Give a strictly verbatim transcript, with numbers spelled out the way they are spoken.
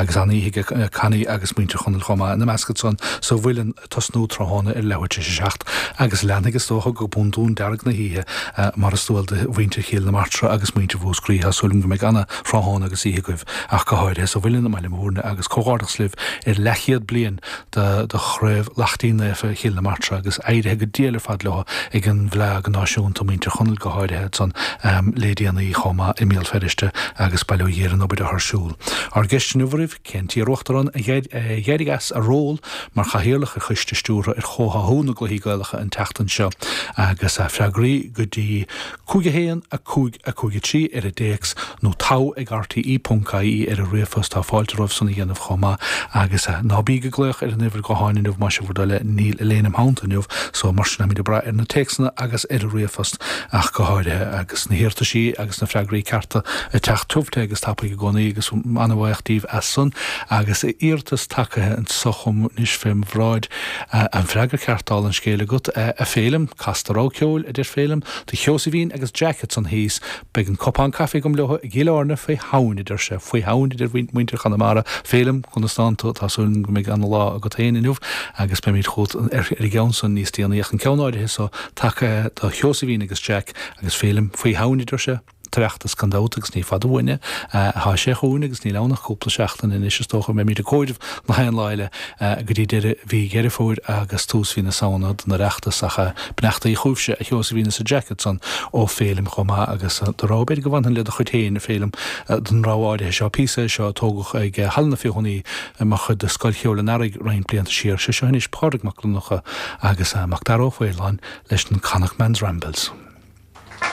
Agus an-oíche ag Connie agus muintir Chonaill chomh maith ina measc ansan sa Mhuileann ag tosnú tráthnóna ar leathuair tar éis a seacht agus leanfaidh is dócha go bundún dearg na hoíche mar is dual do mhuintir Chill na Martra agus muintir Mhúscraí. Tá súil agam go mbeidh ana-thráthnóna agus oíche agaibh ach go háirithe sa Mhuileann i mBaile Mhúirne agus comhghairdeachas libh ar leathchéad bliain de de Chraobh Laichtín Naofa Chill na Martra agus éirithe go diail ar fad leo ag an bhFleadh Náisiúnta, muintir Chonaill go háirithe ansan le déanaí chomh maith i mBéal Feirste agus bail ó Dhia ar an obair atá ar siúl. Ár gceist inniu oraibh, cén t-iar-uachtarán a d'éirigh as a ról mar chathaoirleach ar choiste stiúrtha ar chomhtháthú na gCluichí Gaelacha an tseachtain seo agus freagraí go dtí cúig a haon, a cúig, a cúig a trí ar an dtéacs nó togha ag rte ponc ie ar an ríomhphost. Tá fáilte romhaibh san a dhéanamh chomh maith agus ná bíg ag glaoch ar an uimhir gutháin inniu más é bhur dtoil é, níl Elaine im theannta inniu so mar sin táimid ag brath ar na téacsanna agus ar an ríomhphost ach go háirithe agus na hiarrataisí agus na freagraí cearta ag teacht tiubh te agus tapaidh i gcónaí agus an-bhuíoch díbh as san agus iarratas tagaithe anso chugam anois fém bhráid an freagra ceart dála an scéil agat a Phéilim, cas do rogha ceoil a deir Féilim, do Sheosaimhín agus Jack ansan thíos, beidh an cupán caife agam leo i gCill Airne faoi Shamhain a deir sé, faoi Shamhain a deir muintir Chonamara, Féilim, conas tánn tú, tá súil agam go mbeidh ana-lá agat féin inniu agus beimid chugat ar an gceann san níos déanaí ach an ceann áirithe so tagtha do Sheosaimhín agus Jack agus Féilim, faoi Shamhain a deir sé. tOireachtas gan dabht agus ní fada uainn é. Tá sé chugainn agus níl ann ach cúpla seachtain anois is dócha. Beimid ag comhaireamh na haon lá eile go dtí deireadh mhí Dheireadh Fómhair agus tús mhí na Samhna don Oireachtas ach beannachtaí chugaibhse a Sheosaimhín is a Jack ansan ó Féilim chomh maith agus do rogha b'fhéidir go bhfanfainn le do chuid féin a Féilim don rogha áirithe seo. Píosa é seo a tógadh ag Halla na Feothanaí mar chuid de Scoil Cheoil an Earraigh roinnt blianta siar. Sé seo anois Pádraig Mac Donncha agus Mac Dara Ó Faoláin leis na Connacht Man's Rambles.